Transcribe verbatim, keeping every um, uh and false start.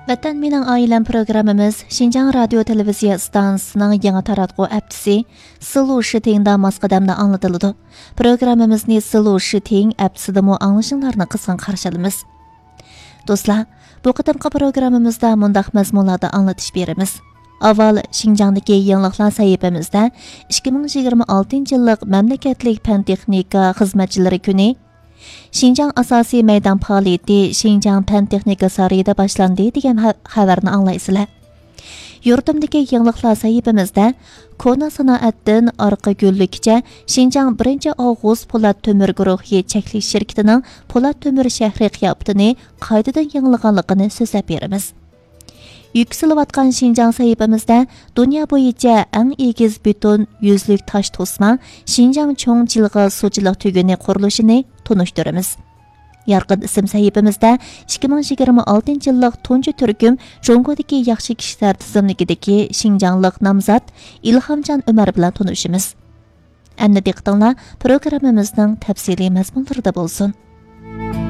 ۋەتەن مېنىڭ ئائىلەم پروگراممىمىز شىنجاڭ رادىيو تېلېۋىزىيە ئىستانسىسىنىڭ يېڭى تاراتقۇ ئەپتىسى سىلۇ شىتىڭدا ماس قەدەمدە ئاڭلىتىلىدۇ. پروگراممىمىزنى سىلۇ شىتىڭ ئەپتىسىدىمۇ ئاڭلىشىڭلارنى قىزغىن قارشى ئالىمىز. دوستلار، بۇ قېتىمقى پروگراممىمىزدا مۇنداق مەزمۇنلاردا ئاڭلىتىش بېرىمىز. ئاۋۋال شىنجاڭدىكى يېڭىلىقلار سەھىپىمىزدە ئىككى مىڭ يىگىرمە ئالتىنچى يىللىق مەملىكەتلىك پەن تېخنىكا خىزمەتچىلىرى كۈنى، شىنجاڭ ئاساسىي مەيدان پائالىيىتى شىنجاڭ پەن تېخنىكا سارىيىدا باشلاندى دېگەن خە-، خەۋەرنى ئاڭلايسىلەر. يۇرتۇمدىكى يېڭىلىقلار سەھىپىمىزدە كونا سانائەتتىن ئارقا گۈللۈككىچە شىنجاڭ بىرىنچى ئاۋغۇست پولات تۆمۈر گۇرۇھى چەكلىك شىركىتىنىڭ پولات تۆمۈر شەھىرى قىياپىتىنى قايتىدىن يېڭىلىغانلىقىنى سۆزلەپ بېرىمىز. يۈكسىلىۋاتقان شىنجاڭ سەھىپىمىزدە دۇنيا بويىچە ئەڭ ئېگىز بېتون يۈزلۈك تاش توسما شىنجاڭ چوڭ جىلغا سۇچىلىق تۈگۈنى قۇرۇلۇشىنى تونۇشتۇرىمىز. يارقىن ئىسىم سەھىپىمىزدە ئىككى مىڭ يىگىرمە ئالتىنچى يىللىق تۇنجى تۈركۈم جۇڭگودىكى ياخشى كىشىلەر تىزىملىكىدىكى شىنجاڭلىق نامزات ئىلھامجان ئۆمەر بىلەن تونۇشىمىز. ئەمدى دىققىتىڭلار پروگراممىمىزنىڭ تەپسىلىي مەزمۇنلىرىدا بولسۇن.